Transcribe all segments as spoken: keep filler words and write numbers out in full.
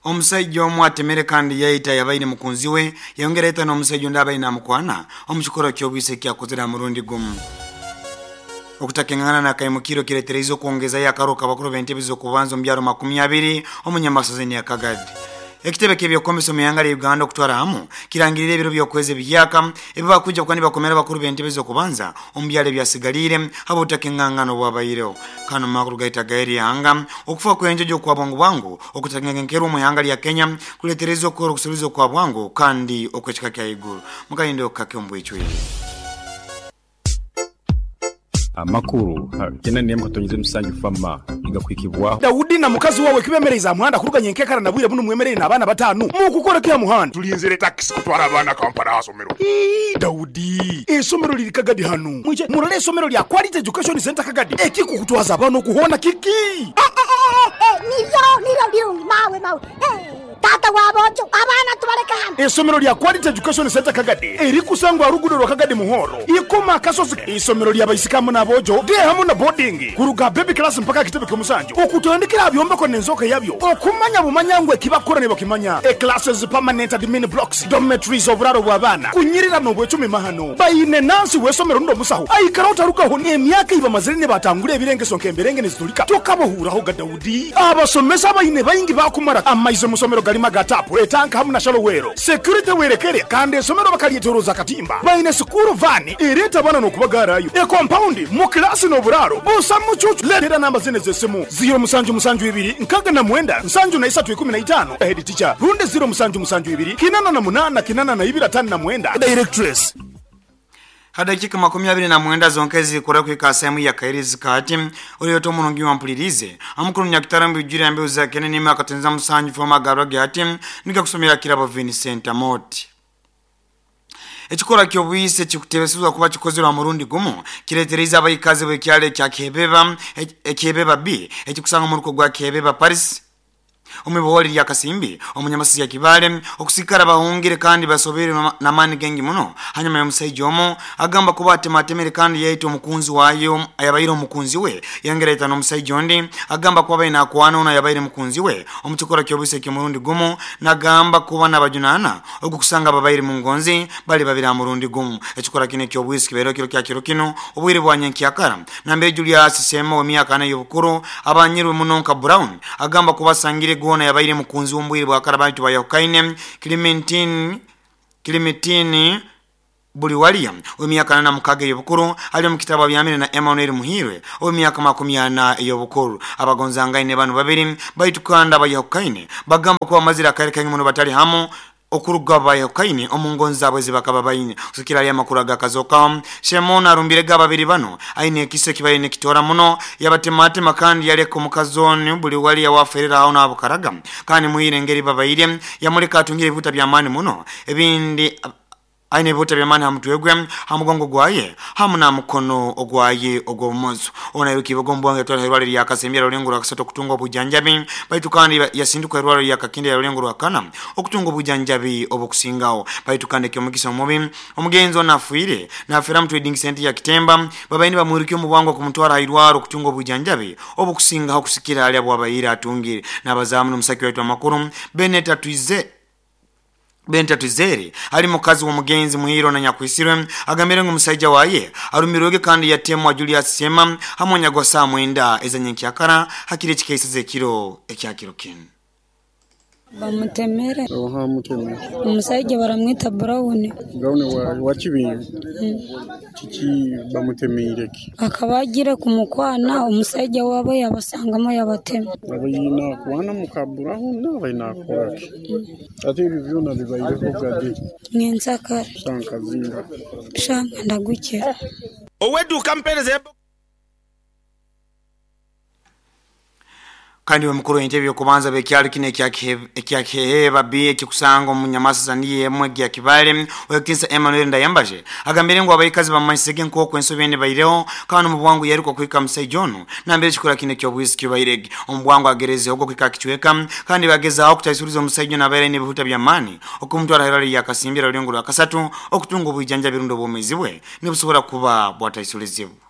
Omusajja omu atemere kandi yaita yabaire mukunzi we yongera ita n'omusajja ondi abaine amukwana omukikoro ky'obwise kyakozere ha murundi gumu. Okutakengana na kaimukiro kiretereize okwongezayo akaroka abakuru b'entebe z'okubanza omu byaro makumi abiri omunyamasaza ya Kagadi. Ekitebe ky'ebyokwomesa omu ihanga lya Uganda okutwara hamu kirangirira ebiro by'okwezi ebihyaka ebibakwija kuba nibakomera abakuru b'entebe z'okubanza omu byaro ebyasigaliire habw'obutakengangana obwabaireho. Kano makuru gaita gaeri ihanga okufa kw'enjojo okwa bwangu bwangu okutakenkenkerwa omu ihanga lya Kenya kuletereza okukora okusuubiza okwa bwangu kandi okw'ekika kya iguru. Mukayindo kake omu bwicwire. Amakuru kena nemu katonyize musanju fama igakwikibwaho. Daudi na mukazi wawe kibemereza muhanda kuruganya enkekara na bwire buno mwemerere n'abaana batanu mukukora kya muhanda tulinzire taxi kutwara abaana Kampala asomero. Ii, Daudi esomero liri Kagadi hanu mwije murole esomero lya Quality Education Center Kagadi ekikukutwaza abana okuhona kiki. Eh, eh, eh, eh, niryo niryo birungi mawe mawe eh. Tata wabojo abana tubaleka hano. Esomero lya Quality Education Center Kagadi erikusangwa rugudo rwa Kagadi Muhoro ikoma kasozi. Isomero lya baisikamu n'abojo de hamu na boarding kuruga baby class mpaka kitebe ky'omusanju okutandikira byombeko n'enzoka yabyo okumanya bumanyangwe kibakora ne bakimanya. E classes permanent admin blocks dormitories oburaro bw'abaana kunyirira n'obwecumi mahano bayine nansi w'esomero ndo musaho aikara otarukaho n'emyaka ibamazire ne batangura ebirengeso nk'emberenge nezitulika tokabohuraho ga Daudi. Abasomesa bayine bayingi bakumara amaizo musomero galima gatapu etanka hamu na shalowero security werekere kandi esomero bakalietoroza katimba bayine sukuru vani ereta bana n'okubagarayo e compound mu klasi n'oburaro busa mucucu. Letera namba zine z'essimu zero musanju musanju ibiri nkaga na mwenda nsanju na isatu ikumi na itano head teacher runde zero musanju musanju ibiri kinana na munana kinana na ibiri atano na mwenda directress. Hadakika makumi abiri na mwenda zonkezi kura kuika sehemu ya kairizi kati ulioto munungi wa mpulirize amukuru nyakitarambi ujiri ambe uzakene nima akatenza musanju foma garwage ati nika kusomera kirabo Vincent Amoti. Ekikora ky'obwise kikutebesezwa kuba kikozerwa murundi gumu kiretereza abayikazi b'ekyalo ekya Kebeba Ekebeba B ekikusanga mu ruko gwa Kebeba Paris omubiwoli lya Kasimbi omunyamasizi ya Kibale okusikara bahungire kandi basobere namani gengi muno. Hanyuma y'omusajja omu agamba kuba atematemere kandi yaita omukunzi wayo ayabaire omukunzi we yongera ita n'omusajja ondi agamba kuba baine akwana ono yabaire mukunzi we omukikora ky'obwise ky'omurundi gumu nagamba kuba n'abajunana ogukusanga babaire mu ngonzi bali babiri murundi gumu. Ekikora kino eky'obwise kibaire kiro kya kiro kino obwire bwa nyenkyakara nambere Julius Sema w'emyaka ana y'obukuru abanyirwe muno nka Brown agamba kuba sangire gona yabaire mukunzi w'ombwire bwa karabantu bayahukaine Clementine Clementine buli walia w'emyaka ana mukaga y'obukuru ali mu kitabo byamire na Emmanuel Muhirwe w'emyaka makumi ana y'obukuru. Abagonzangaine bano babiri baitukanda bayahukaine bagamba kuba mazira akare kangi muno batali hamu okuruga bayahukaine omungonzi zabwe zibakaba baine kusikira ali amakuru agakazoka. Shemona arumbire babiri bano aine ekiso kibaye nekitora muno yabatematema kandi yaleka omukazoni buli wali yawaferera aho n'abukaraga kandi muhire ngeri babaire yamuleka atungire ebibuta by'amaani muno ebindi aine ebibuta by'amaani hamutwe gwe hamugongo gwaye hamu na mukono ogwaye ogw'obumoso. Ona yukibogo mbwange yatwala irwaliro lya Kasembi rulengo rwa kasatu okutunga obujanjabi baitu kandi yasinduka irwaliro lya Kakindi ya rulengo rwa kana okutunga obujanjabi obukusingawo baitu kandi ekyomukisa omubi omugenzi onafuire nafera mu trading center ya Kitemba babaini bamwirukye omu bwangu okumutwara irwaro okutunga obujanjabi obukusingaho kusikira ali abwabayire atungire n'abazaamu n'omusaki waitu amakuru Bennett Atuize Benta Tuzeri ali mukazi w'omugenzi Muhiro na Nyakwisirwe agambire ngu musajja waye arumirwege kandi yatemwa Julius Sema hamwe nyagwa saa mwenda ezanyenkyakara hakiri ekikeiseze ekiro ekyakiro kinu. Bamutemere. Oha mutemere. Omusajja baramwita Brown. Brown wa wa kibinyo. Kiki bamutemeire ki? Akaba agira kumukwana omusajja wabo yabasangamo yabatema. Abayina kwana muka Brown n'abayina akoraki. Ate ebyo byona bibaireho gadi. Ngenzakara. Shankazinga. Shanga ndagukira. Oweduka mpereze. Kandi mukuru w'entebe y'okubanza b'ekyalo kino ekya Keheba B ekikusanga omunyamasiza niye emwe gya Kibale owekitinsa Emmanuel Ndayambaje agambire ngu abayikazi bamanyisege nk'oku ensobi ene baireho kandi omu bwangu yaruka kuhika musajja ono nambere ekikora kino eky'obwisi kibairege. Omu bwangu agerezeho okuhika kicweka kandi bagezaho okutaisuliza omusajja ono abaire n'ebihuta by'amaani okumutwara irwaliro lya Kasimbi rulengo rwa kasatu okutunga obujanjabi rundi obwomeezi bwe nibusobora kuba bwataisulizibwa.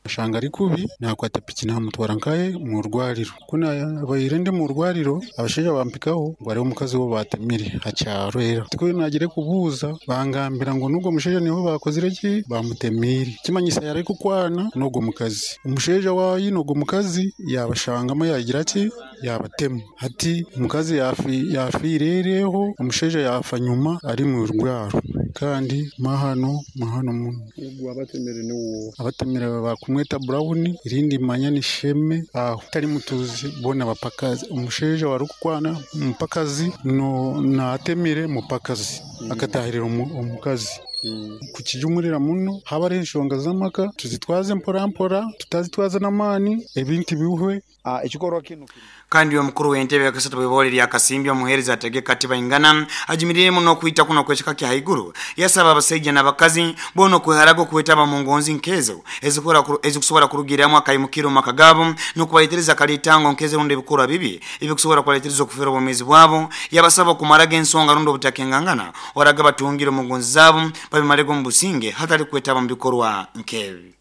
Shanga ari kubi nakwata piki namutwara nkaye mu rwariro kuna abayire ndi mu rwariro abashaija bampikaho ngo ari omukazi wo batemire hakyaro era tiko nagire kubuuza bangambira ngo nubwo mushaija niho bakozire ki bamutemire kimanyisa yari kukwana n'ogwo mukazi umushaija wayi n'ogwo mukazi yabashangamo yagira ki yabatema hati omukazi yafi yafirereho omushaija yafa nyuma ari mu rwaro kandi mahano mahano muno ogwo abatemire niwo abatemire bakumweta Brown irindi manya ni Sheme aho tari mutuzi bona bapakazi umusheja warukukwana mupakazi no natemire mupakazi mm. akatahirira omukazi mm. Kukijumurira muno haba ari enshonga z'amaka tuzitwaze mpora mpora tutazitwaza n'amani ebintu bihuwe ah ekikorwa kino kandi yo mukuru w'entebe yakasatu bwebole lya Kasimbya omuhereza ategeka Tibaingana ajimirire muno kwita kuno kwechika kya haiguru yasaba abasajja n'abakazi bono kweharago kwetaba mu ngonzi nkezo ezikora ezikusobora kurugiramu akayimukiro makagabo n'okubayitereza kalitango nkeze runde bikora bibi ebikusobora kwaletereza okufera obumezi bwabo yabasaba kumaraga ensonga rundo butakengangana waraga batungiro mu ngonzi zabo babimarego mu businge hatari kwetaba mu bikorwa nkebi.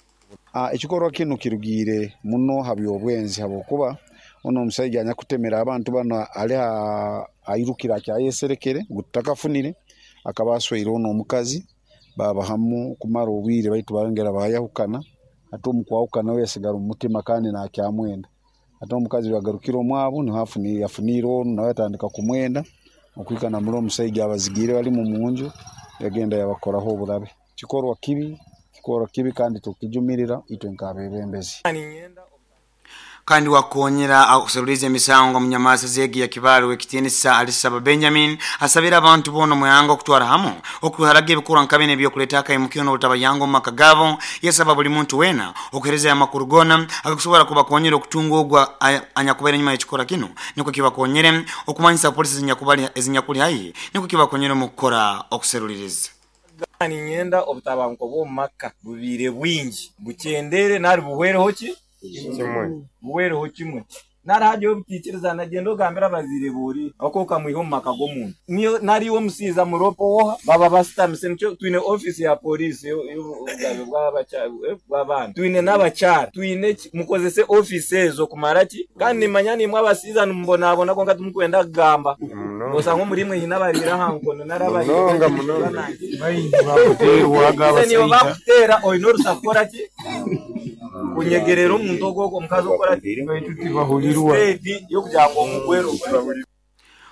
Ah ekikorwa kino kirugire muno habyobwenzi habokuba ono omusajja anyakutemera abantu bano ali airukira kyayeserekere gutakafunire akaba asweire ono omukazi baba hamu kumara obwire baitu bayongera bayahukana ate omukwahukana we yasigara omutima kandi nakyamwenda ate omukazi yagarukira omwabo niho afunire yafunire ono nawe atandika kumwenda okwikana muri omusajja abazigire bali mu munju yagenda yabakoraho oburabe. Kikorwa kibi kikorwa kibi kandi tukijumirira itwe nk'abebembezi. Kandi wakonyera akuseruliza emisango munyamasa zegi ya Kibaru ekitinisa Alisaba Benjamin asabira abantu bono muyanga okutwara hamu okuharaga ebikura nkabene byokuleta akayimukiro n'obutabayango mu makagabo yasaba buli muntu wena okuhereza amakuru gona akakusobora kubakonyera okutunga ogwa anyakubera nyuma y'ekikora kino niko kibakonyere okumanyisa polisi ezinyakubali ezinyakuli hayi niko kibakonyere mu kukora okuseruliriza. Ninyenda obutabanguko bw'omu maka bubire bwingi bukyendere nari buhwereho ki kimwe buhwereho kimwe narahaje obutikiriza nagenda ogambira abazire buri akoka mwiho mu maka g'omuntu niyo nariwo musiza muropo woha baba basitamise nicyo twine office ya police y'obugabe bw'abaana twine n'abakyara twine mukozese office ezo kumara ki kandi nimanya nimwe abasiza nimbonabona konka tumukwenda kugamba osanga omurimwe hina barira hankono narabarira niyo bakutera oyine orusa kukora ki kunyegerera omuntu ogwo omukazi okora ki yo kugira ngo omugwero.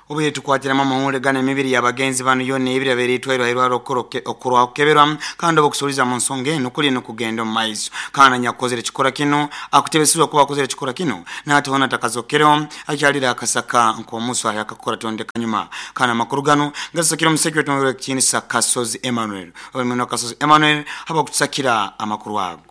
Obuye tukwatira mama hule gana emibiri y'abagenzi bano yonna ebiri abeeritwairwa irwaro okurwa okukeberwa kandi obukusuliza mu nsonga eno kuli n'okugenda omu maiso kandi anyakukozere ekikora kino akutebesibwa kuba akozere ekikora kino n'atihona takazokereho akyalira akasaka nk'omusu ayakakora tondeka nyuma kandi amakuru gano gasakira omuseki wetu ekitinisa Kasozi Emmanuel olimweno Kasozi Emmanuel haba okutusakira amakuru ago.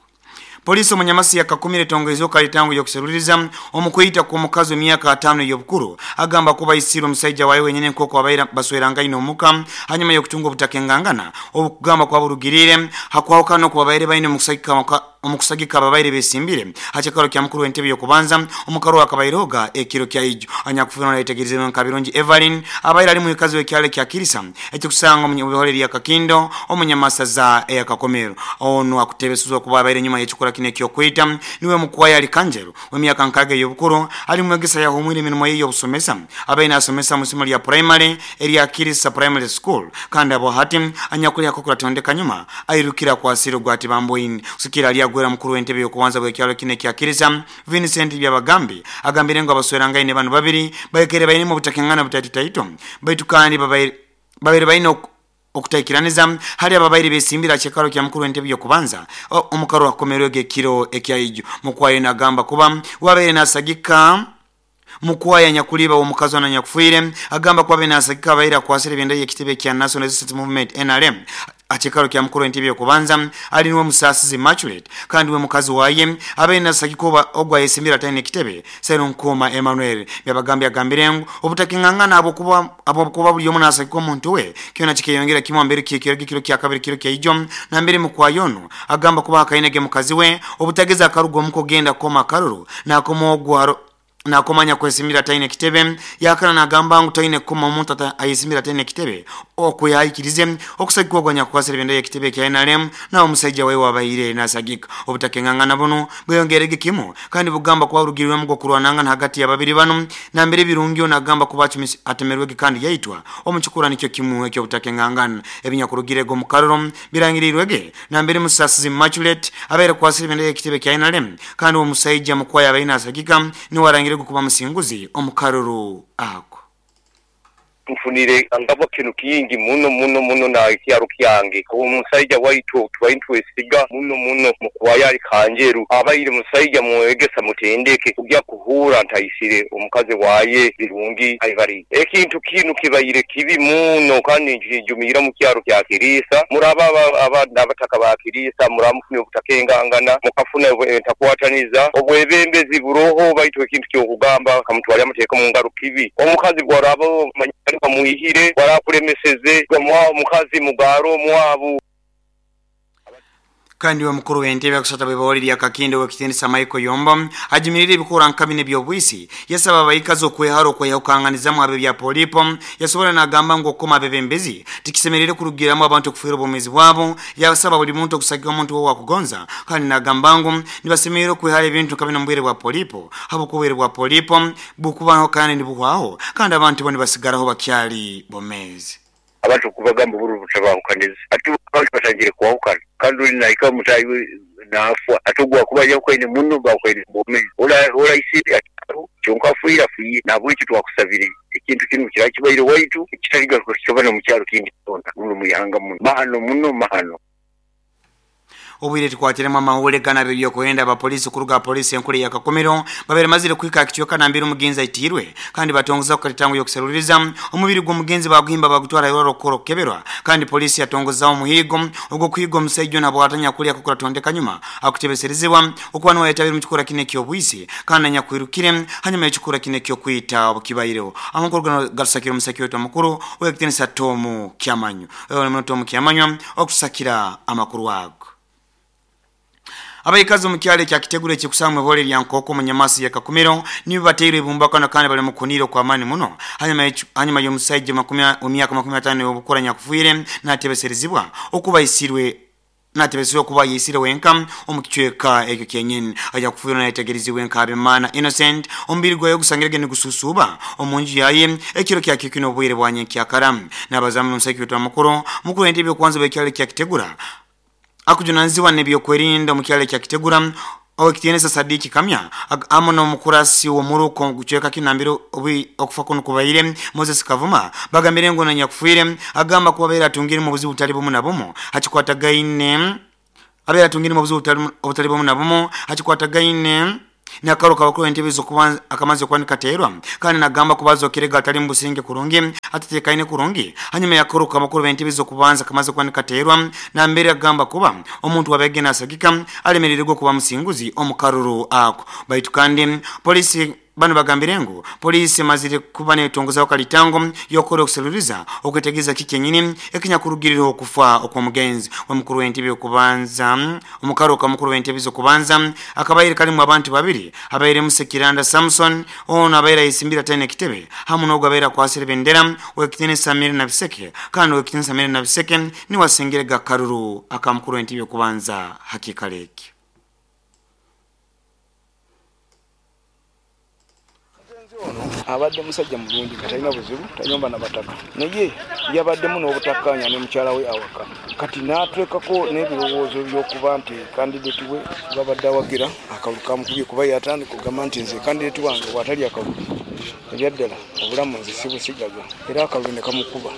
Polisi omunyamasi yakakumire tongezo kalitangu yokuseruliriza omukuyita ku mukazi emyaka atano y'obukuru agamba kuba isiro omusajja wawe wenyine nkoko abaira basweranga ino omuka hanyuma y'okutunga obutakengangana obukugamba kwa burugirire hakwawukana okuba baire baine omukusagika omukusagika ababaire besimbire hakikaro kya mukuru w'entebe y'okubanza omukaro akabairoga ekiro kya ijo anyakufuna naitegerezebwa Nkabirungi Evelyn abaire ali mukazi w'ekyalo kya Kirisa ekikusanga mu bihoreri ya Kakindo omunyamasaza eya Kakomero ono akutebesuzwa kuba abaire nyuma y'ekikora kino ekyokwita niwe mukwaya ali Kanjero w'emyaka nkaga y'obukuru ali mwegesa yahumwire emirimo ye y'obusomesa abaire nasomesa mu somo lya primary erya Kirisa Primary School kandi abo hati anyakuli akokora tondeka nyuma airukira kwa asiro gwati bamboini kusikira ali agwera mukuru w'entebe y'okubanza bw'ekyalo kino ekya Kirisa Vincent Byabagambi agambire ngo abasweranga ine bano babiri baikere baine mu butakengana butaitaito baitu kandi babaire babiri baine okutaikiraniza hali ababaire besimbira kyekaro kya mukuru w'entebe y'okubanza omukaro akomerwege ekiro ekyaijo mukwayo nagamba kuba wabaire nasagika mukwaya nyakuliba omukazi na nyakufuire agamba kuba benasagika abaire akwasire ebendera y'ekitebe kya National Resistance Movement N R M akikaro kya mukuru w'entebe y'okubanza ali niwe Musasizi Immaculate kandi we mukazi waye abaire nasagika oba ogwa yesimbira tayine ekitebe Serunkoma Emmanuel byabagambye agambire ngu obutakingangana abo kuba abo kuba buli omu nasagika omuntu we kyona kikeyongera kimwe mbere kikiro kiro kya kabiri kiro kya ijo na mbere mukwayono agamba kuba akainege mukazi we obutageza akarugo omuko genda koma karuru nakomogwa Nakomanya kwesimira taine kitebe yakana nagamba ngu taine kuma omuntu ayisimira taine kitebe okuyayikirize okusagikwa gwanya kwasira bendera kitebe kya N R M na omusajja wewe wabaire nasagika obutakengangana buno bweyongerege kimu kandi bugamba kwa rugirwe mu kurwananga hagati ya babiri bano na mbere birungi nagamba kubacu atemerwege kandi yaitwa omukikura nikyo kimu ekyo butakengangana ebinyakurugirego mu karoro birangirirwege na mbere musasizi Immaculate abere kwasira bendera kitebe kya N R M kandi omusajja mukwaya abaine nasagika ni warangire kuba musinguzi omukaruru ako tufunire angabo kinu kingi muno muno muno na ikyaro kyange omusajja waitu twaintu esiga muno muno mukwaya kanjeru abayire musajja muegesa mutendeke kujya kuhura ntayisire omukazi waye birungi ayibari ekintu kinu kibayire kibi muno kandi njumira mu kyaro kya Kirisa muraba abanda abataka ba Kirisa muramufune obutakengangana mukafuna entakwataniza obwebembezi buroho baitu ekintu kyo kugamba kamutwali amateka mu ngaro kibi omukazi gwarabo muihire warakulemeseze gwa mukazi mugaro mwabu. Kandi wa mukuru w'entebe akusata bebawaliri akakindo wekitendesa Michael Yombo ajimirire ebikora nkabine byobwisi yasaba abayikazi okwehara okweyawukanganizamu abe bya polipo yasobola nagamba ngu okukoma abebembezi tikisemerere kurugiramu abantu okufiira obwomeezi bwabo yasaba buli muntu okusagika omuntu wo wakugonza kandi nagamba ngu nibasemerere okwehara ebintu nkabine mu bwire bwa polipo habw'obwire bwa polipo bukubaho kandi nibuhwaho kandi abantu bo nibasigaraho bakyali bomezi. Abantu kubagamba buru butabahukaniza ati abantu batangire kuwahukana kandi uri naika mutayi nafwa atugwa kuba yakwene muno bakwene bome ora ora isiri kyonka fuira fuyi nabwo cyo twakusabire ekintu kinu kirakibaire waitu kitaliga kukibana mu kyaro kindi tonda muno muyanga muno mahano muno mahano. Obwire tukwatiremu amahule gana bibyo kuenda abapolisi kuruga polisi enkule ya Kakomero babere mazire kwika kichoka na mbiri umugenzi aitirwe kandi batongoza kukalitango yokuseruriza omubiri gw'omugenzi baguhimba bagutwara yororo koro keberwa kandi polisi yatongoza omuhigo ogwo kuhigo omusajja nabo atanya kulya kukura tondeka nyuma akutebeserezebwa okwanwa yatabiri mu kikora kine kyobwisi kandi nyakwirukire hanyuma y'ekikora kine kyo kwita obukibaireho amakuru gano gasakira omusaki wetu amakuru wekitenisa Tomu Kyamanyo ewe Tomu Kyamanyo okusakira amakuru ago. Abayikazi mu kyalo kya Kitegure kikusamwe bole lya Nkoko mu Nyamasi ya Kakumiro nibo bateire ibumbaka na kandi bali mu kuniro kwa amani muno hanyuma hanyuma y'omusajja makumi emyaka makumi atano y'obukora nyakufuire natebeserezibwa okubayisirwe natebesiwe kuba yisire wenka omukichweka ekyo kyenyini aja kufuira nategereziwe nka Abimana Innocent omubiri gwayo gusangirege ni gususuba omunju yaye ekiro kya kikino obwire bwanye kyakaramu nabazamu n'omusajja wetu amakuru mukuru entebe kwanza bekyalo kya Kitegura akujunanziwa nebyokwerinda mu kyalo kya Kitegura owekitienesa Sadiki Kamya amono mukurasi wo muruko gucheka kinambiro obi okufa kuno kubaire Moses Kavuma bagambire ngo nanyakufuire agamba kubabeera atungire mu buzibu butali bumu na bumu hakikwatagaine abeera atungire mu buzibu obutali bumu na bumu hakikwatagaine nakaro kabakuru entebe zokubanza akamaze kwanika terwa kandi nagamba kubazo kirega atali mbusinge kurungi atatekaine kurungi hanyuma yakoro kabakuru entebe zokubanza akamaze kwanika terwa na mbere agamba kuba omuntu wabege nasagika alemererwa kuba musinguzi omukaruru ako baitu kandi polisi bano bagambire ngu polisi mazire kuba netongoza wakalitango yokora okuseluriza okwetegeza kikenyini ekinyakurugirira okufa okwomugenzi omukuru w'entebe okubanza omukaro kamukuru w'entebe zokubanza akabaire kalimu abantu babiri abaire Musekiranda Samson ono abaire isimbira tene kitebe hamu n'ogwo abaire akwasire bendera wekitene Samir na Biseke kandi wekitene Samir na Biseke ni wasengere gakaruru akamukuru w'entebe okubanza hakikaleki. Abadde musajja mulungi nga talina buzibu tanyomba na bataka naye yabaddemu n'obutakkaanya ne mukyala we awaka kati n'atwekako n'ebirowoozo by'okuba nti kandideti we babadde awagira akalulu kamukubye kuba yatandika okugamba nti nze kandideti wange bw'atali akalulu ebyaddala obulamu nze sibusigaza era akalulu ne kamukuba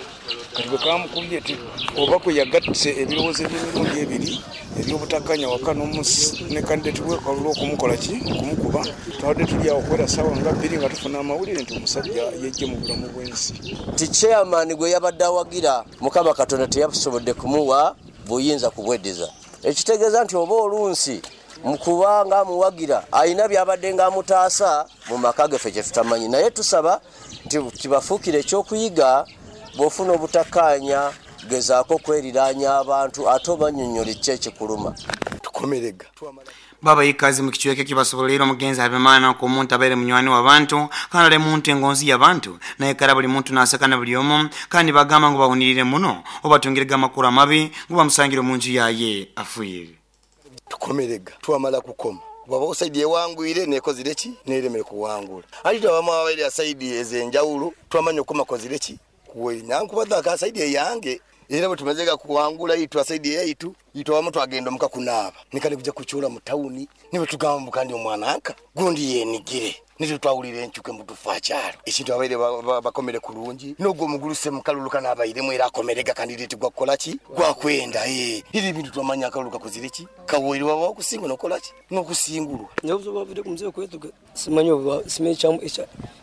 kati bwe kamukubye ti oba kwe yagattise ebirowoozo eby'emirundi ebiri eby'obutakkaanya waka ne kandideti we akalulu okumukola ki okumukuba twabadde tuli awo okuwera ssaawa nga bbiri nga tufuna amawulire nti omusajja yejje mu bulamu bw'ensi. Ti chairman gwe yabadde awagira Mukama Katonda teyasobodde kumuwa buyinza kubweddiza ekitegeeza nti oba olunsi mukubanga amuwagira alina byabadde ng'amutaasa mu maka gaffe kye tutamanyi naye tusaba nti kibafuukire ekyokuyiga bw'ofuna obutakkaanya gezaako okweriraanya abantu ate obannyonnyola ki ekikuluma. Tukomerega. Baba ikazi mu kichweke kibasobolera omugenzi Habimana ko omuntu abaire munywani w'abantu kandi ali muntu engonzi y'abantu naye kara buli muntu nasakana buli omu kandi bagamba ngo bahunirire muno obatungirega amakuru amabi ngo bamusangire mu nju yaye afwire. Tukomerega twamala kukoma baba osaidi ewangwire nekozire ki neremere kuwangula ali twabama abaire asaidi ezenjawulo twamanya okoma kozire ki kuwe nankubadda akasaidi eyange era bwe kuwangula itu asaidi yaitu itwamu twagenda muka kunaaba nikali kuja kuchura mu tawuni niwe tugamba kandi omwana anka gundi yenigire nitwe twawulira enchuke mutufa kyalo ekintu abaire bakomere kulungi nogwo muguluse mukaluluka n'abairemu era akomerega kandi litigwa kukola ki gwakwenda eh iri bintu twamanya akaluluka kuzire ki kawoiri waba okusinga nokola ki n'okusingulwa nyobuzo bavide ku mzee kwetu simanyi simanyi kyamu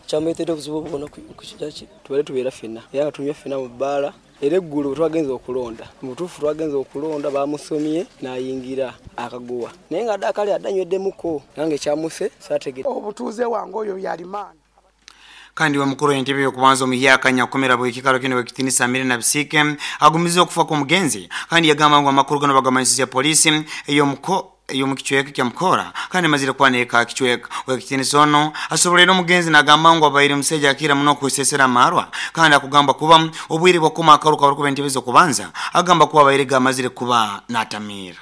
kyamuleetera obuzibu obwona kukijaki tubale tubeera ffenna era nga tunywa ffenna mu bbaala. Era eggulo twagenze okulonda mu butuufu twagenze okulonda bamusomye n'ayingira akaguwa naye nga adde akale adde anyweddemuko nange kyamuse saategedde. Obutuuze wange oyo yalimaana kandi wa mukuru entebe yokubanza omuyaka nyakomera bwe kikaro kino wekitinisa Amiri na Bisike agumiza okufa kwa mugenzi kandi yagamba ngo amakuru gano bagamanyisiza polisi eyo muko eyo mukichweka kya mukora kandi mazira kwaneka kichweka wekitinisa ono asobolera omugenzi nagamba ngo abaire museja akira muno kusesera marwa kandi akugamba kuba obwire bwakoma akaruka bariko bentebe kubanza agamba kuba abaire gamazire kuba natamira.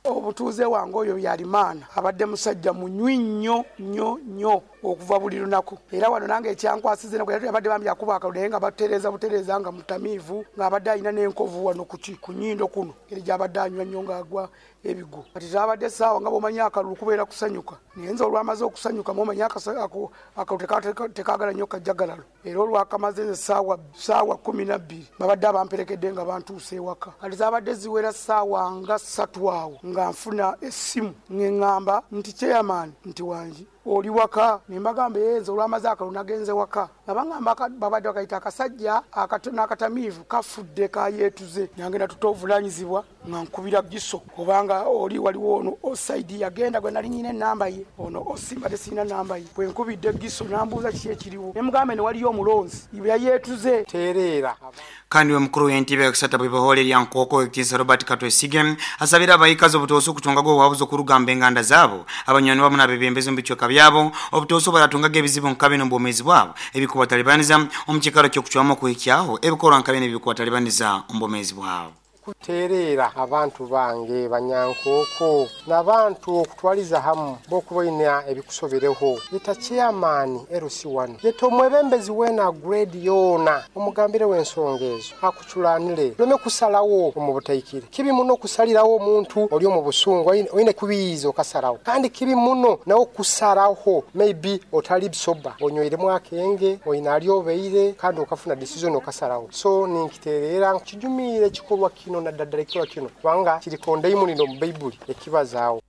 Obutuuze wange oyo yalimaana abadde musajja munywi nnyo nnyo nnyo okuva buli lunaku era wano nange ekyankwasize abadde bambi akuba akalulu naye nga batereeza butereeza nga mutamiivu ng'abadde alina n'enkovu wano kuki ku nnyindo kuno eri gy'abadde anywa nnyo ng'agwa ebigo. Kati zaabadde essaawa nga bw'omanyi akalulu kubeera kusanyuka naye nze olwamaze okusanyuka mw'omanyi akalulu tekaagala nnyo kajjagalalo era olwakamaze nze ssaawa kkumi na bbiri babadde abamperekedde nga bantuuse ewaka. Kati zaabadde ziwera ssaawa nga ssatu awo nga nfuna essimu ŋŋamba nti chairman nti wangi oli waka ne mbagamba yenze olwamaze akalulu nagenze waka nga baŋŋamba babadde bakayita akasajja n'akatamiivu kafudde kayeetuze nange natuta obuvunaanyizibwa nga nkubira giso kubanga oli waliwo ono osaidi yagenda gwe nali nyina ennamba ye ono osimbadde sirina nnamba ye bwe nkubidde giso nambuuza kiki ekiriwo ne mugambe ne waliyo omulonzi yayeetuze tereera. Kandi we mukuru w'entebe yakusata bwebahole lya Nkoko Ekitiisa Robert Katwesige asabira abayikazi obutoose okutungaga obuwabuzi okurugamba enganda zaabo abanywani bamu n'abebembezi mu bichweka byabo obutoose baratungaga ebizibu nka bino mu bwomeezi bwabo ebikubatalibaniza omu kikaro ky'okucwamu okuhikyaho ebikorwa nka bino ebikubatalibaniza omu bwomeezi bwabo. Kutereera abantu bange banyankoko n'abantu okutwaliza hamu bokubaina ebikusobereho yeta chairman L C one yeta omwebembezi wena grade yona omugambire w'ensonga ezo akuculanire lome kusalawo omu butaikire kibi muno kusalirawo omuntu oli omu busungu oyine kubiyiza okasalawo kandi kibi muno nawo kusalaho maybe otali bisoba onyweremu akenge oyina ali obeire kandi okafuna decision okasalawo so ninkitereera nkijumiire ekikolwa kino na daddala ekikolwa kino kubanga kirikonda imunino mu Bayibuli ekibazaawo.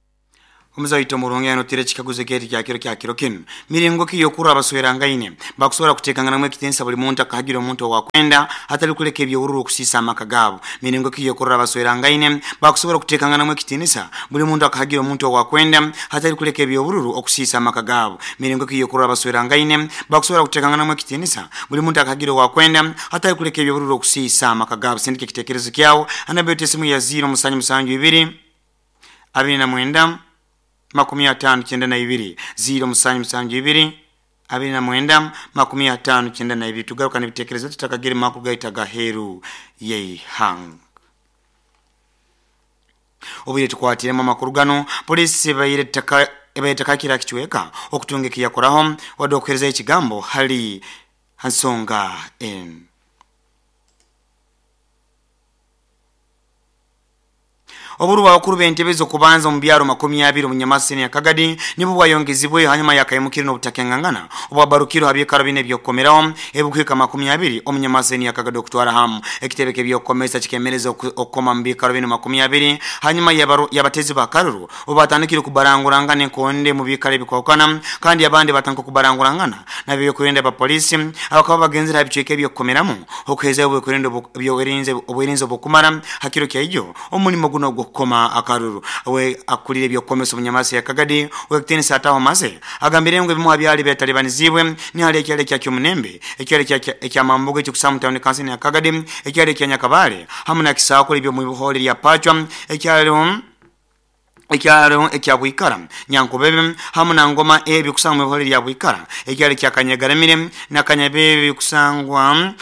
Omuzaito murungi anotire chikaguzo keti kya kiro kya kiro kinu miringo ki yokura abaswerangaine bakusobola kutekangana mu ekitensa buli muntu akahagira omuntu wakwenda hatali kuleka ebyowururu okusisa amaka gaabo. Miringo ki yokura abaswerangaine bakusobola kutekangana mu ekitensa buli muntu akahagira omuntu wakwenda hatali kuleka ebyowururu okusisa amaka gaabo. Miringo ki yokura abaswerangaine bakusobola kutekangana mu ekitensa buli muntu akahagira wakwenda hatali kuleka ebyowururu okusisa amaka gaabo. Sindike kitekerezo kyawo anabete simu ya zero musanju musanju ibiri abiri na mwenda makumi atano kyenda na ibiri zero musanju musanju ibiri abiri na mwenda makumi atano kyenda na ibiri. Tugaruka n'ibitekerezo tutakagere makuru gaita gaheru yeihang obire tukwatiremo amakuru gano polisi bayire taka ebayita kichweka okutunga kiyakoraho wadde okuhereza ekigambo hali hansonga en Oburu bakuru b'entebe kubanza mu byaro makumi abiri mu Nyamasini ya Kagadi nibo bwayongezibwe hanyuma yakayimukira n'obutakengangana obwabarukiro abyekaro bine byokomeraho ebukwika makumi abiri omu Nyamasini ya Kagadi okutwara hamu ekitebeke byokomesa kikemereza okukoma mu bikaro bino makumi abiri hanyuma yabatezi bakaruru obatandikire kubarangurangana enkonde mu bikaro ebikwakana kandi abandi batanka kubarangurangana nabyo kwenda ba polisi abakaba bagenzera ebicweka ebyokomeramu okuheza obwekwenda obwerinze obwerinze obukumara hakiro kyaijo omulimo guno koma akaruru we akulire byokomesa omunyamasi ya Kagadi we kitenisa ataho maze agambire ngo bimu abyali betalibanizibwe ni hali ekyale kya Kyomunembe ekyale kya ekya Mambugo ekikusamu town council ya Kagadi ekyale kya Nyakabale hamu na Kisako ibyo mu bihole lya Pachwa ekyale ekyalo ekya Bwikara Nyankubebe hamu na Ngoma E bikusangwa mu lya Bwikara ekyalo kya Kanyagaramire na Kanyabebe bikusangwa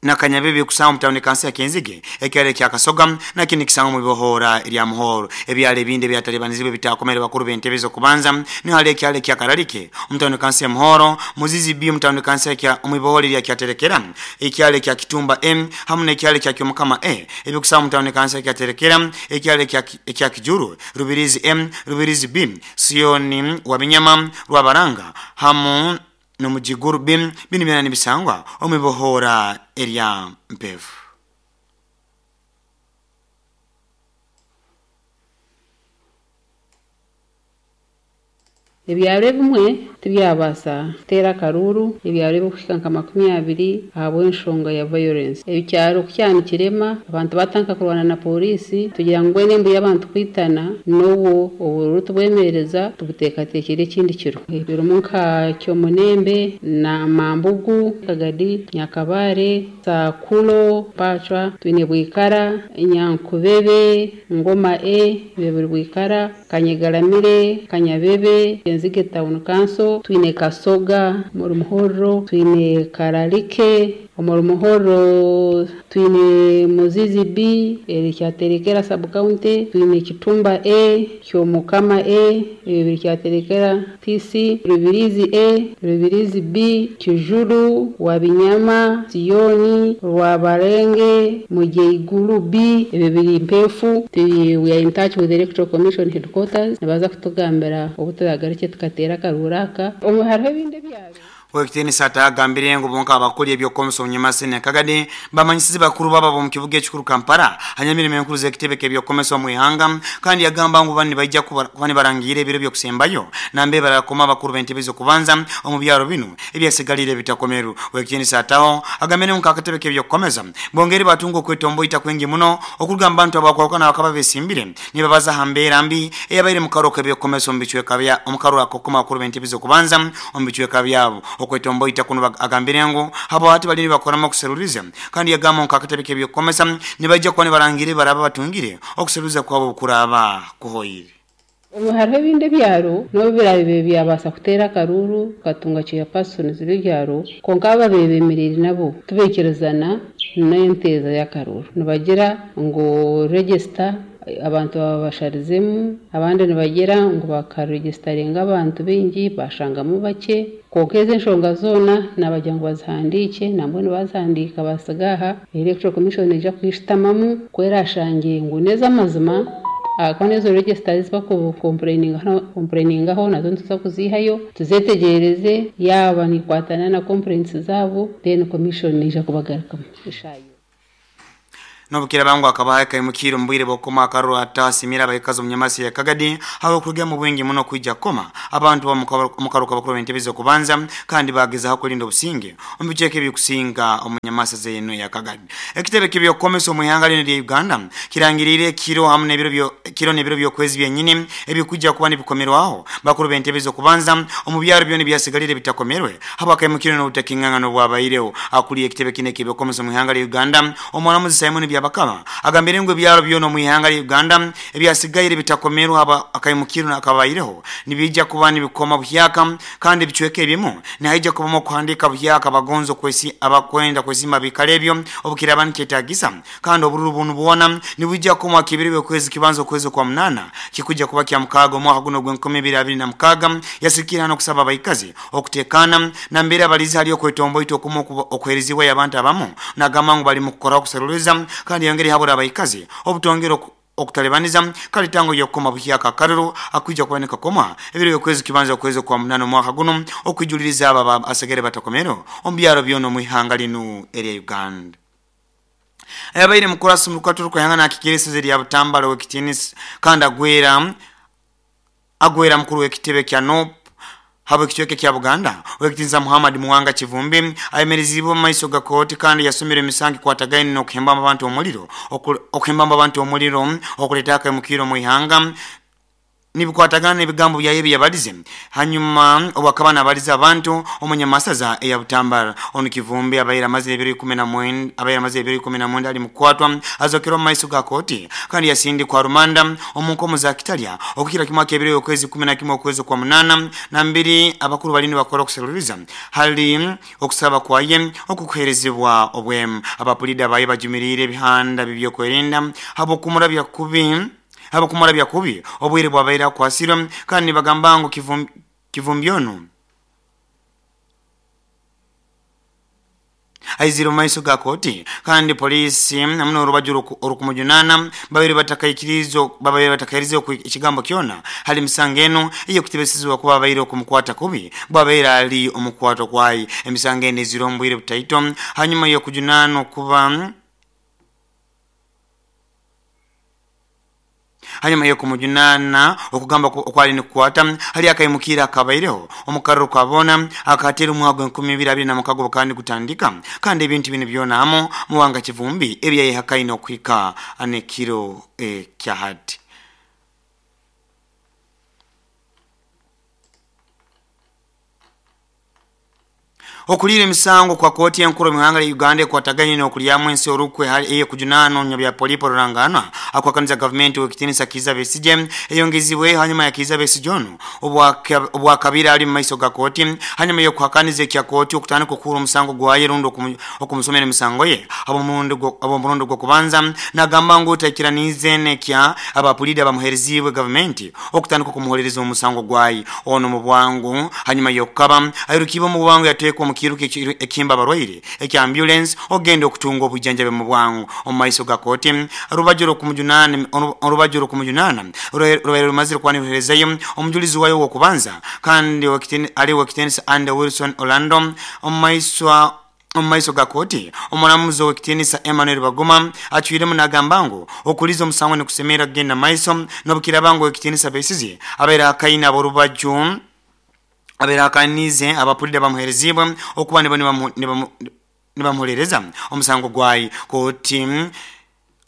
na Kanyabebe kusangwa mu tawuni kansi ya Kenzige ekyalo kya Kasoga na kindi kisangwa mu bibohora lya Muhoro. Ebyalo ebindi byatalibanizibwe bitakomere bakuru b'entebe kubanza ni hali ekyalo kya Kararike mu tawuni kansi ya Muhoro, Muzizi B mu tawuni kansi ya mu bibohora lya Kyaterekera, ekyalo kya Kitumba M hamu n'ekyalo kya Kyomukama E ebikusangwa mu tawuni kansi ya Kyaterekera, ekyalo kya kya Kijuru, Rubirizi M, Rubirizi B, Sioni Wabinyama, Rwabaranga hamu nomujiguru bim bini byana nibisangwa omibohora erya Mpevu. Ebyalo ebimwe tibyabasa kuteera akaruru, ebyalo ebikuhika nka makumi abiri ahabw'enshonga ya violence. Ekyaro kukyanikirema abantu batanka kurwana na polisi tugira ngu embu y'abantu kwitana n'obwo obururu tubwemereza tubuteekateekire ekindi kiro. Birimu nka Kyomunembe na Mambugu, Kagadi, Nyakabare, Sakulo, Pachwa, twine Bwikara, Nyankubebe, Ngoma E, biri Bwikara, Kanyegaramire, Kanyabebe, Kenzige Town Council, twine Kasoga muri Muhoro, twine Kararike muri Muhoro, twine Muzizi B eri Kyaterekera sub county, twine Kitumba A, Kyomukama A, ebiri Kyaterekera T C, Rubirizi A, Rubirizi B, Kijuru, Wabinyama, Sioni, Rwabarenge, Mujeiguru B, ebiri Mpefu. We are in touch with the Electoral Commission headquarters nabaza kutugambira obuturagarike tukatera karuraka omu hariho ebindi byabo. Wekitini sata agambire ngo bonka abakoli ebyokomesa omunyamasi ne Kagadi bamanyisize bakuru baba bo mu kibuga ekikuru Kampala hanyamirimo enkuru z'ekitebe k'ebyokomesa mu ihanga, kandi yagamba ngo bani bajja kuba barangire ebiro byokusembayo nambe barakoma bakuru b'entebe kubanza omu byaro bino ebyasigalire bitakomeru. Wekitini sataho agambire ngo akatebe k'ebyokomesa bongeri batungo kwetombo itakwingi muno okugamba abantu abakwakana bakaba besimbire nibabaza hambera mbi eyabaire mu karoko ebyokomesa omu bicweka bya omukaro akokoma bakuru b'entebe kubanza omu bicweka byabo okwetombo itakuno agambire ngo habo hati balini bakoramo kuseruliza, kandi yagamba ngo akatebe k'ebyokomesa nibajja kuba barangire baraba batungire okuseruliza kwabo kuraba kuhoyire. Omu hariho ebindi ebyaro n'obu birabe byabasa kuteera akaruru katunga chairpersons b'ebyaro konka ababeeremerire nabo tubeekerezana n'enteeza y'akaruru nibagira ngu register abantu babasharizemu, abandi nibagira ngu bakaregistaringa abantu bingi bashangamu bake. Konka ezo enshonga zoona nabagira ngu bazihandiike nambwe nibazihandiika basigaha Electoral Commission eija kwishitamamu kwerashange ngu n'ez'amazima akona ezo registers bakukomplainingaho nazo nituza kuzihayo tuzetegereze yaba nikwatana na complaints zabo then commission eija kubagarukamu eshayo. Nobukira bangu akabaha kaimukiro mbwire bokoma akaruru atasimira abayikazi omunyamasi ya Kagadi habo kuruga mu bwingi muno kwijja koma abantu omukaruka bakuru b'entebe kubanza kandi bagezaho kulinda obusinge omu bicweka ebikusinga omunyamasi zeno ya Kagadi. Ekitebe k'ebyokomesa omu ihanga lino lya Uganda kirangirire kiro hamu n'ebiro byo kiro n'ebiro by'okwezi byenyini ebikujja kuba nibikomerwaho bakuru b'entebe kubanza omu byaro byona byasigalire bitakomerwe habo akaimukiro n'obutakingangano bwabaireho. Akuliye ekitebe kine k'ebyokomesa omu ihanga lya Uganda omwanamuzi Simon Byabakama agambire ngo ebyaro byona mu ihanga lya Uganda ebyasigaire bitakomerwa haba akaimukiro nakabaireho nibijja kuba nibikoma buhyaka kandi bicweke ebimu naija kubamo kuhandika buhyaka bagonzo kwesi abakwenda kwesima bikalebyo obukiraba nikyetagisa kandi obururu bunu buona nibujja kumwa kibiri kwezi kibanzo kwezi kwa munana kikuja kuba kya mukaga omwaka guno gw'enkumi ibiri abiri na mukaga. Yasikira no kusaba abayikazi okutekana na mbere abalizi haliyo kwetombo ito okumu okwerizibwa y'abantu abamu nagamba ngo bali mu kukora okuseruliza kandi yongere habura abayikazi obutongero okutalebaniza kalitango yokoma buhyaka karuru akuja kuboneka koma ebiro yokwezi kibanza kwezi kwa munano mwaka guno okwijuliriza aba asegere batakomero ombyaro byono mu ihanga linu eri Uganda. Ayabaire mukurasi mukaturu kwehangana akikirisize lya Butambala wekitinis kandi agwera agwera mukuru wekitebe kya N U P habo kichweke kya Buganda wekitinza Muhammad Muwanga Kivumbi ayemerezibwa mu maiso ga kooti kandi yasomera emisango kwatagaine n'okuhemba abantu omuliro okuhemba abantu omuliro okuleeta akemukiro mu ihanga nibikwatagana n'ebigambo byaye byabalize hanyuma obwakaba nabaliza abantu omunyamasaza eya Butambala. Ono Kivumbi abaira amazire ebiro ikumi na mwenda abaira amazire ebiro ikumi na mwenda ali mukwatwa azokera omu maiso ga kooti kandi yasindikwa rumanda omunkomo za Kitalya okukira kimwaka ebiro okwezi kumi na kimwe okwezi kwa munana na mbiri. Abakuru balini bakora okuseruriza hali okusaba kwaye okukuherezebwa obwemu. Abapulida baye bajumirire ebihanda bibyokwerinda habokumurabya kubi haba kumurabya kubi obwire bwabaira kwasirwa kandi bagamba ngo kivumbi kivumbyono aiziro maiso ga koti kandi polisi namno orubaju orukumujunana babiri batakaikirizo babiri batakairizo ekigambo kyona hali misangeno iyo kutebesizwa kuba babaire okumukwata kubi bwabaira ali omukwato kwayi. Emisangeno ezirombwire butaito hanyuma yo kujunana kuba hanyuma yo kumujunana okugamba okwali nikukwata hali akayimukira akabaireho omukarro kwabona akatera omwago enkumi ibiri abiri na mukago kandi kutandika kandi ebintu bino byona amo muwanga Kivumbi ebyaye hakaino okwika anekiro e kyahati. Okulira emisango kwa koti enkuru mu ya Uganda ekwataganye n'okulyamu ensi orukwe eye kujunano nya bya polipo rurangana akwakaniza government wekitinisa Kiza Besigye eyongezibwe hanyuma ya Kiza Besigye ono obwakabira ali mu maiso ga koti hanyuma yo kuhakaniza ekya koti okutandika okukura omusango gwaye rundi okumusomera emisango ye abo murundo gwo kubanza nagamba ngu taikiranize nekya abapulida bamuhereziwe government okutandika okumuholereza omusango gwaye ono mu bwangu hanyuma yokukaba ayirukiba mu bwangu yatekwa kiruke ekimba barwaire ekya ambulance ogenda okutunga obujanjabe mu bwangu omaiso ga koti rubajuro kumujunana rubajuro kumujunana rubaire rumazire kwaniherezayo omujulizi wayo wokubanza kandi wakiteni ali wakitenisa and Wilson Orlando omaiso omaiso ga koti omulamuzi w'ekitiinisa Emmanuel Baguma acwiremu n'agamba ngu okuliza omusango nikusemera kugenda maiso n'obukiraba ngu ekitiinisa Besigye abaire akaina aborubaju abaire akanize abapulida bamuherezibwe okuba nibamuhereza omusango gwayi. Koti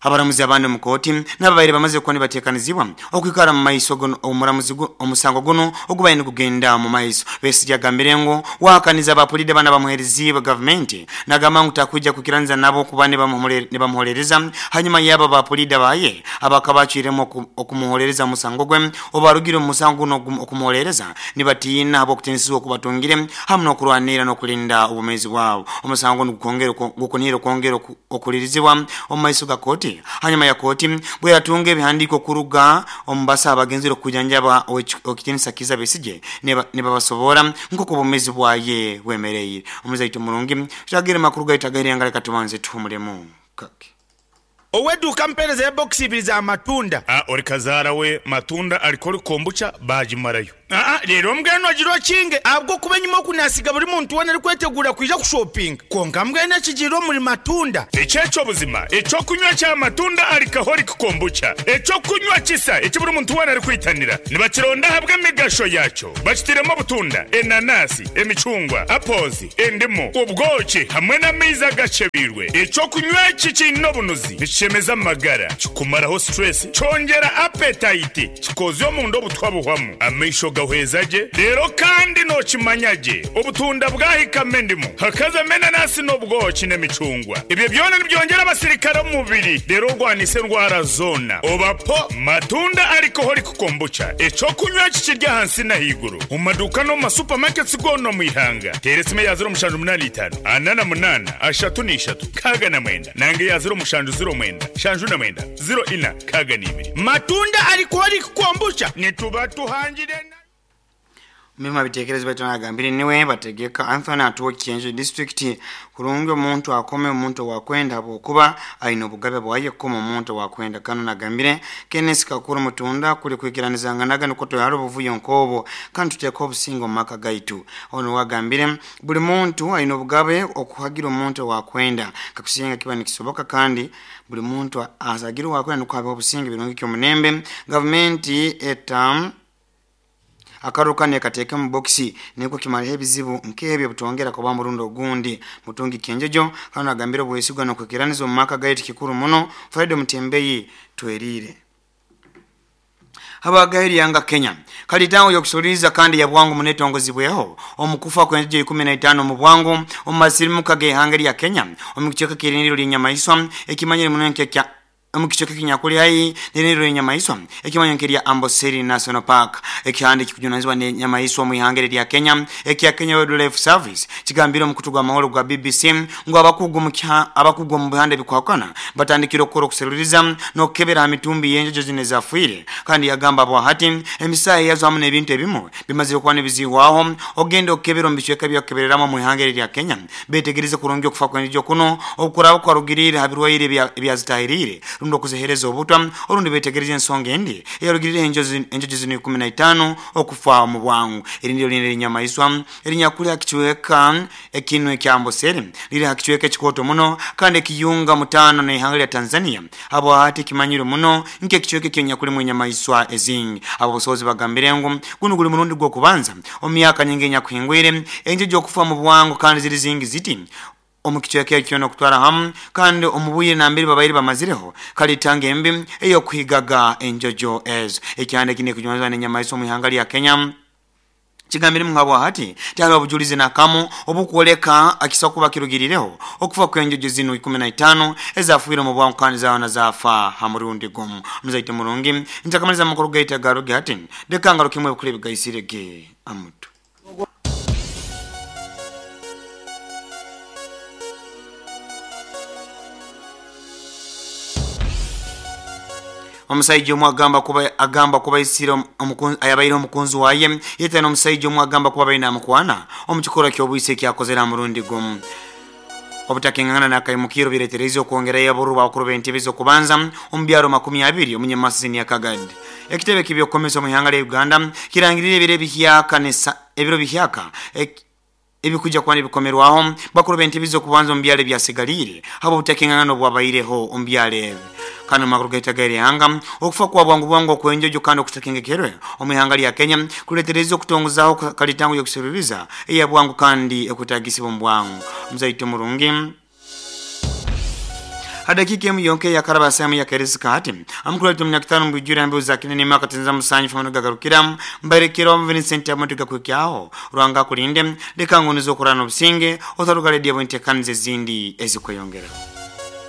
abaramuzi abandi mu koti n'ababaire bamaze kuba nibateekanizibwa okwikara mu maiso omuramuzi omusango guno ogubaire nigugenda mu maiso. Besigye agambire ngu wakaniza abapulida bana bamuherezibwe gavumenti nagamba ngu takwija kukiranza nabo kuba nibamuholereza hanyuma yaba abapulida baye abakabacwiremu okumuholereza omusango gwe obarugire omu musango guno okumuholereza nibatiina habw'okutiinisibwa okubatungire hamu n'okurwanira n'okulinda obumezi bwabo. Omusango gukunire okwongera okulirizibwa omu maiso ga koti hanyuma ya koti bwe yatunga ebihandiiko kuruga omubasa abagenzire okujanjaba okitinisa Kiza Besigye nibabasobora nk'oku obumezi bwaye bwemereire. Omuzaito murungi tutagire makuru gaitagaire ngale katubanze tuhumulemu kake oweduka mpereza ya box ibiri za matunda. Ah, ori kazara we matunda alikoli kombucha bajimarayo. Ah, rero mbweno agirwa kinge abwo kuba nyuma kunasiga buri muntu wena ari kwetegura kwija kushopping konka mbwene kigiro muri matunda. Echecho buzima echo kunywa cha matunda alikaholic kombucha echo kunywa kisa ekiburi muntu wena ari kwitanira nibakironda habwe emigasho yacho bakitiremo butunda enanasi emicungwa apozi endimu ubwoki hamwe n'amaizi agacebirwe. Echo kunywa iki kino bunuzi bishemeza amagara kikumaraho stress cyongera appetite kikozyo mu ndo butwabuhwamu amaisho gahwezaje rero kandi nokimanyage obutunda bwahikame ndimu hakaza menanasi n'obwoki n'emicungwa ibyo byona nibyongera abasirikare mu mubiri rero rwanise ndwara zona obapo matunda alcoholic kombucha eco kunywa kikirya hansi na higuru mu maduka no mu supermarkets gono mu ihanga teresime ya zero mushanju munani itanu anana munana ashatu n'ishatu kaga na mwenda nange ya zero mushanju zero mwenda shanju na mwenda zero ina kaga n'ibiri matunda alcoholic kombucha nituba tuhangire. Mima bitekerezo baitu nagambire niwe bategeka Anthony atuwa Kienjo district kurungi omuntu akome omuntu wakwenda abokuba aine obugabe bwaye koma omuntu wakwenda kano nagambire Kenneth Kakuru mutunda kuli kwikiranizanganaga nuko toyaro buvuyo nkobo kandi tuteka obusingo maka gaitu ono wagambire buli muntu aine obugabe okuhagira omuntu wakwenda kakusinga kiba nikisoboka kandi buli muntu azagira wakwenda nuko abe obusingo birungi kyo munembe government etam akaruka nekateka mu boxi niko kimara ebizibu nkebyo butongera kuba murundo gundi mutungi Kienjojo kano agambira obwesigwa no kwekiraniza mu maka gaitu kikuru muno Fred Mutembeyi twerire. Habagairi yanga Kenya kalitango yokusuliza kandi ya bwangu munetongozibweho omukufa kwenje ikumi na itano mu bwangu omasirimuka ge ya Kenya omukicheka kiriniro linyamaiswa ekimanyire munenke kya omukicheka kinyakuli hai niriro nyamaiswa ekimanyire nk'erya Amboseli National Park. Ekihandi kikujunanizwa ne nyamaiswa mu ihangere lya Kenya ekya Kenya Wildlife Service kigambira omukutu gwa mahoro gwa B B C ngo abakugu mu abakugu mu bihande bikwakana batandikira okukora okuseruriza n'okukebera emitumbi y'enjojo zine zafuire. Kandi yagamba bwa hati emisayi yazo hamwe n'ebintu ebimu bimaze okuba n'ebizihwaho ogenda okukebera omu bicweka by'okukebereramu mu ihangere lya Kenya betegereze kurungi okufa kw'enjojo kuno okuraba kwarugirire ha birwaire ebyazitahirire rundi okuzihereza obutwa orundi betegereze ensonga endi eyarugirire enjojo zino ikumi na itano okufa mu bwangu. Erindi lindi linyamaiswa erinyakuli hakichweka ekinwe ekya Amboseli liri hakichweka ekikoto muno kandi ekiyunga mutano n'ihanga lya Tanzania abo hati kimanyiro muno nke kichweka ekyonyakuli mu nyamaiswa ezingi. Abo busobozi bagambire ngu guno guli murundi gw'okubanza omyaka nyingi enyakuhingwire enjojo okufa mu bwangu kandi ziri zingi ziti omukichweka ekyo n'okutwara hamu kandi omubuye nambiri babairi bamazireho kalitanga embi eyokuhigaga enjojo ezo. Ekyande kine kujwanzwa n'enyamaiswa mu ihanga lya Kenya kigambire mungabo hati tihariho obujulizi nakamu obukwoleka akisa kuba kirugirireho okufa kw'enjojo zino ikumi na itano ezafuire mu bwangu kandi zaona zafa ha murundi gumu. Muzaite murungi ntakamaliza amakuru gaita garuge hati ndekangaro kimwe bukule bigaisirege amutu. Omusajja omu agamba kuba agamba kuba isiro omukunzi ayabaire omukunzi waye yete n'omusajja omu agamba kuba baina amukwana omukikora ky'obwise ekyakozera murundi gumu. Obutakengana na kaimukiro biretereza okwongera yaburu bakuru b'entebe z'okubanza omu byaro makumi abiri omunyamasizini ya Kagadi. Ekitebe kibyokomesa mu ihanga lya Uganda kirangirire ebiro bihyaka nesa ebiro bihyaka ebikuja kwani bikomerwaho bakuru b'entebe z'okubanza omu byaro byasigalire habo obutakengana n'obwabaireho omu byaro. Kano makuru gaita gairi hanga okufa kwa bwangu bwangu okwenjojo kandi okutakengekerwe omu ihanga lya Kenya kuletereza okutongozaho kalitango yokuseruriza eya bwangu kandi ekutagisibwa mu bwangu. Muzaito murungi hadakika emu yonke ya karaba sehemu ya kerisika hati amukuru alitu mnyakitano mbujura ambe uzakine ni maka tenza musanyi famunuga gagarukira mbarekero Vincent amotuka kwekyaho Ruhanga kulinde leka ngonizo kurana obusinge otaruga redio entekanize zindi ezikweyongera.